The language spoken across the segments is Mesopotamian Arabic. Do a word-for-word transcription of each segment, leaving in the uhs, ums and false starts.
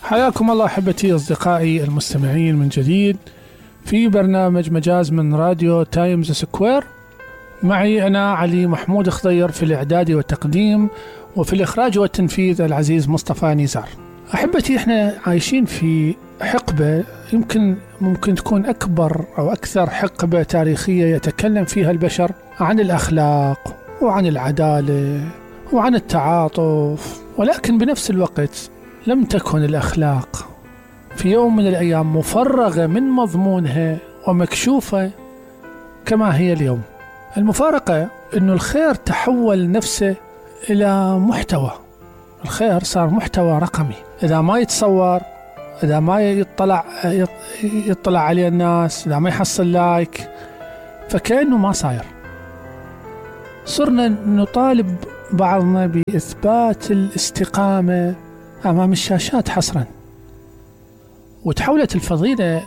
حياكم الله أحبتي أصدقائي المستمعين من جديد في برنامج مجاز من راديو تايمز سكوير. معي أنا علي محمود خضير في الإعداد والتقديم، وفي الإخراج والتنفيذ العزيز مصطفى نزار. أحبتي إحنا عايشين في حقبة يمكن ممكن تكون أكبر أو أكثر حقبة تاريخية يتكلم فيها البشر عن الأخلاق وعن العدالة وعن التعاطف، ولكن بنفس الوقت لم تكن الأخلاق في يوم من الأيام مفرغة من مضمونها ومكشوفة كما هي اليوم. المفارقة أنه الخير تحول نفسه إلى محتوى، الخير صار محتوى رقمي، إذا ما يتصور، إذا ما يطلع يطلع عليه الناس، إذا ما يحصل لايك فكأنه ما صاير. صرنا نطالب بعضنا بإثبات الاستقامة أمام الشاشات حصرا، وتحولت الفضيلة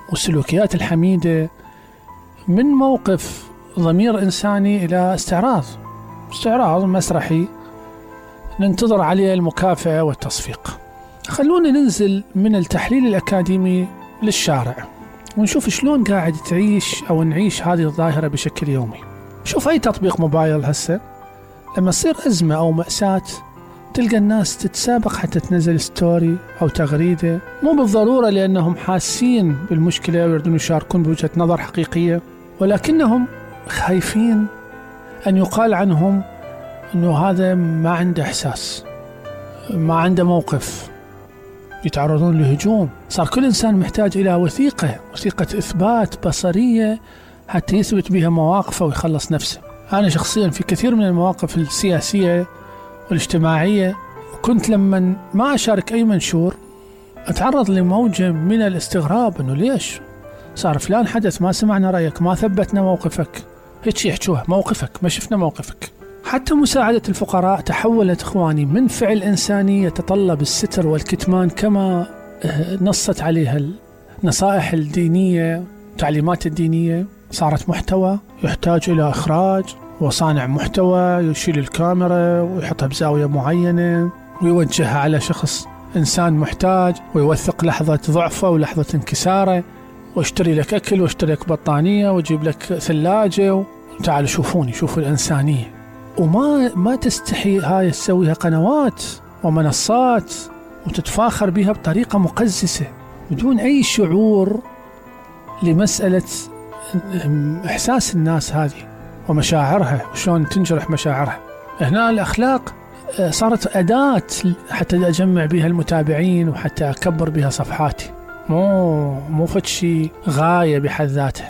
والسلوكيات الحميدة من موقف ضمير إنساني إلى استعراض استعراض مسرحي ننتظر عليه المكافأة والتصفيق. خلونا ننزل من التحليل الأكاديمي للشارع ونشوف شلون قاعد تعيش أو نعيش هذه الظاهرة بشكل يومي. شوف أي تطبيق موبايل هسه لما تصير أزمة أو مأساة تلقى الناس تتسابق حتى تنزل ستوري أو تغريدة، مو بالضرورة لأنهم حاسين بالمشكلة ويريدون يشاركون بوجهة نظر حقيقية، ولكنهم خايفين أن يقال عنهم أنه هذا ما عنده إحساس، ما عنده موقف، يتعرضون لهجوم. صار كل إنسان محتاج إلى وثيقة وثيقة إثبات بصرية حتى يثبت بها مواقفه ويخلص نفسه. أنا شخصيا في كثير من المواقف السياسية والاجتماعية كنت لما ما أشارك أي منشور أتعرض لموجة من الاستغراب، أنه ليش صار فلان حدث ما سمعنا رأيك، ما ثبتنا موقفك، هيك يحكوها موقفك ما شفنا موقفك. حتى مساعدة الفقراء تحولت إخواني من فعل إنساني يتطلب الستر والكتمان كما نصت عليها النصائح الدينية والتعليمات الدينية، صارت محتوى يحتاج إلى إخراج، وصانع محتوى يشيل الكاميرا ويحطها بزاوية معينة ويوجهها على شخص إنسان محتاج ويوثق لحظة ضعفه ولحظة انكساره، واشتري لك أكل واشتري لك بطانية وجيب لك ثلاجة وتعالوا شوفوني شوفوا الإنسانية. وما ما تستحي هاي تسويها قنوات ومنصات وتتفاخر بها بطريقة مقززة بدون أي شعور لمسألة إحساس الناس هذه ومشاعرها وشلون تنجرح مشاعرها. هنا الأخلاق صارت أداة حتى أجمع بها المتابعين وحتى أكبر بها صفحاتي، مو مو فد شيء غاية بحد ذاتها.